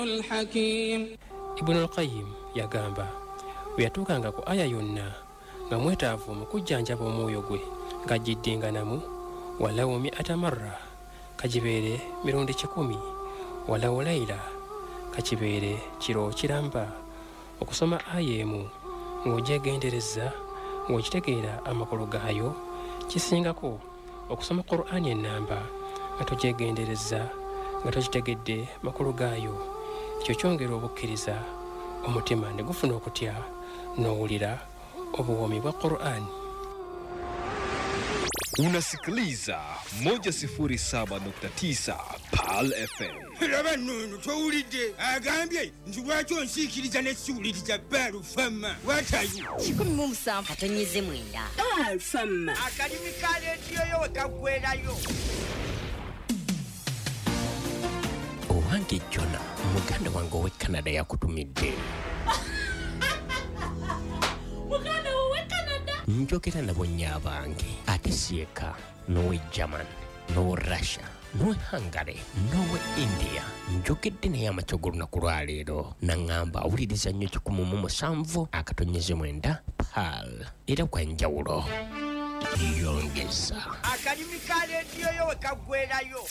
الحكيم. Ibn al-Qayyim yagamba, bwe yatuukanga ku aya yonna nga mwetaavu mu kujjanjaba omwoyo gwe ng'agiddinganamu walawo mi'ata marra, kagibeere mirundi 100, walawo layila, kakibeere kiro kiramba. Okusoma aya emu ng'ogyegendereza ng'okitegeera amakulu gaayo kisingako okusoma Qur'ani ennamba nga togyegendereza nga tokitegedde makulu gaayo. Ekyo kyongera obukkiriza, omutima ne gufuna okutya n'owulira obuwoomi bwa Qur'ani. Unasikiliza 107.9 Pearl FM. Laba nno towulidde, agambye nti lwaki onsiikiriza ne siwuliriza Baalufama watayo 17 katonyeze 9 Baalufama. Akalimi ka leediyo yo we kaggwerayo. Owange Jona, muganda wange ow'e Canada yakutumidde. Muganda wowe Canada? Njogera nabo nnyo abange, ate si eka, n'ow'e German, n'ow'e Russia, n'ow'e Hungary, n'ow'e India. Njogedde naye amakya g'olunaku lwaleero, naŋŋamba awuliriza nnyo 107.9 Pearl, era kwa njawulo. Yongeza. Akalimi ka leediyo yo we kaggwerayo.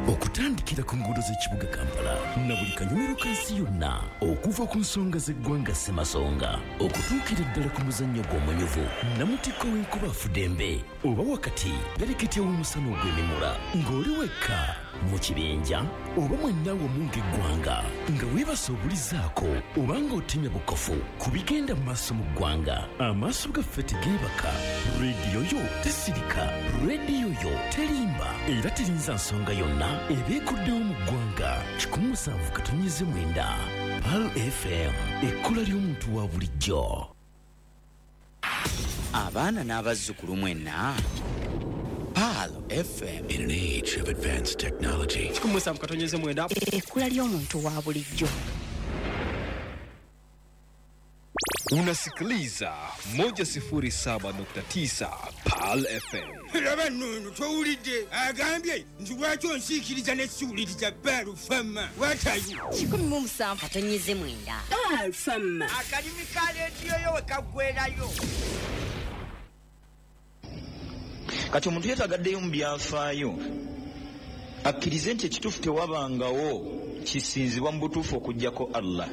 Okutandikira ku nguudo z'ekibuga Kampala na buli kanyumiro ka nsi yonna, okuva ku nsonga z'eggwanga Ssemasonga okutuukira ddala ku muzannyo gw'omunyuvu namutikko w'enkuba afudembe, oba wakati pereketya w'omusana ogw'emimula, ng'oli wekka mu kibinja oba mwenna wamu ng'eggwanga, nga weebasa obulizaako oba ng'otemya bukofu ku bigenda mu maaso mu ggwanga. Amaaso gaffe tegeebaka, rediyo yo tesirika, rediyo yo terimba era terinza nsonga yonna ebeekuddewo mu ggwanga. 107.9 Pearl FM, ekkula ly'omuntu wa bulijjo. Abaana n'abazzukulu mwenna, Pearl FM. In an age of advanced technology, 107.9 ekkula ly'omuntu wa bulijjo. Unasikiliza 107.9 Pearl FM. Laba nno towulidde, agambye nti lwaki onsiikiriza ne siwuliriza Baalufama watayo 17 katonyeze 9 Baalufama. Akalimi ka leediyo yo we kaggwerayo. Kati omuntu yeetagaddeyo mu byafaayo akkirize nti ekituufu tewabangawo kisinzibwa mu butuufu okuggyako Allah.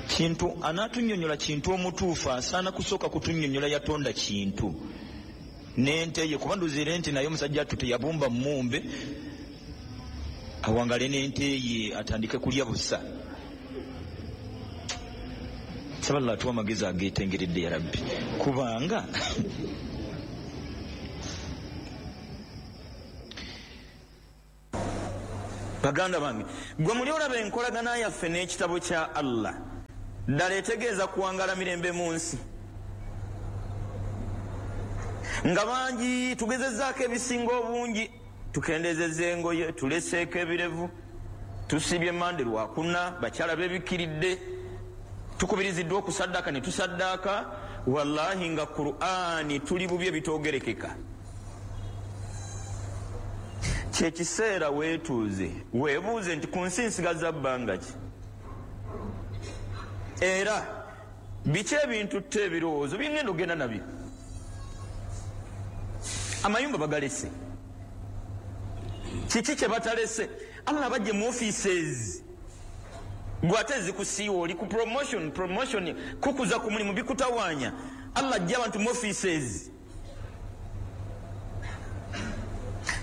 Kintu anaatunnyonnyola kintu omutuufu asaana kusooka kutunnyonnyola yatonda kintu n'ente ye, kuba nduziire nti naye omusajja attu teyabumba mmumbe awangale n'ente ye atandike kulya busa. Nsaba Allah atuwe amagezi ageetengeredde ya Rabbi, kubanga baganda bange, gwe muli olaba enkolagana yaffe n'ekitabo kya Allah ddala etegeeza kuwangala mirembe mu nsi, nga bangi tugezezzaako ebisinga obungi, tukendezezza engoye, tuleseeko ebirevu, tusibye mande lwakuna, bakyala beebikiridde, tukubiriziddwa okusaddaaka ne tusaddaaka. Wallahi nga Qur'ani tuli bubi ebitoogerekeka. Kyekiseera weetuuze weebuuze nti ku nsi nsigaza bbanga ki, era biki ebintutte ebirowoozo bingenda ogenda nabyo. Amayumba bagalese, kiki kye batalese? Allah bajje mu offices, gwe ate zikusiiwa, oli ku promotion, promotion kukuza ku mulimu bikutawaanya. Allah ajja abantu mu offices.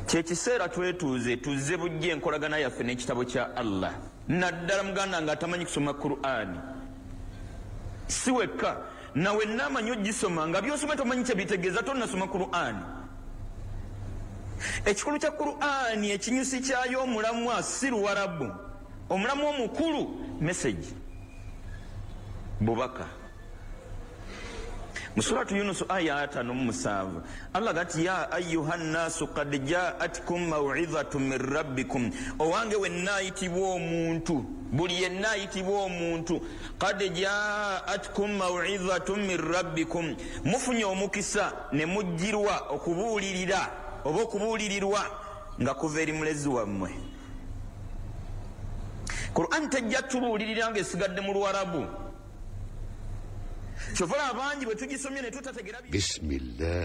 Kyekiseera twetuuze tuzze bujje enkolagana yaffe n'ekitabo kya Allah, naddala muganda nga atamanyi kusoma Qur'ani. Si wekka, nawe naamanyi ogisoma nga by'osoma tomanyi kye bitegeeza, tonnasoma Qur'ani. Ekikulu kya Qur'ani, ekinyusi kyayo omulamwa si Luwarabu, omulamwa omukulu message, bubaka. Mu Suratu Yunus aya 57 Allah gati ya ayyuhan nasu qad ja'atkum maw'izatun min rabbikum, owange wenna ayitibwa omuntu, buli yenna ayitibwa omuntu, qad ja'atkum maw'izatun min rabbikum, mufunye omukisa ne mujjirwa okubuulirira oba okubuulirirwa Nga kuva eri mulezi wammwe. Quran tejja tubuulirira nga esigadde mu Luwarabu. Kyova abangi bwe tugisomye ne tutategeera. بسم الله.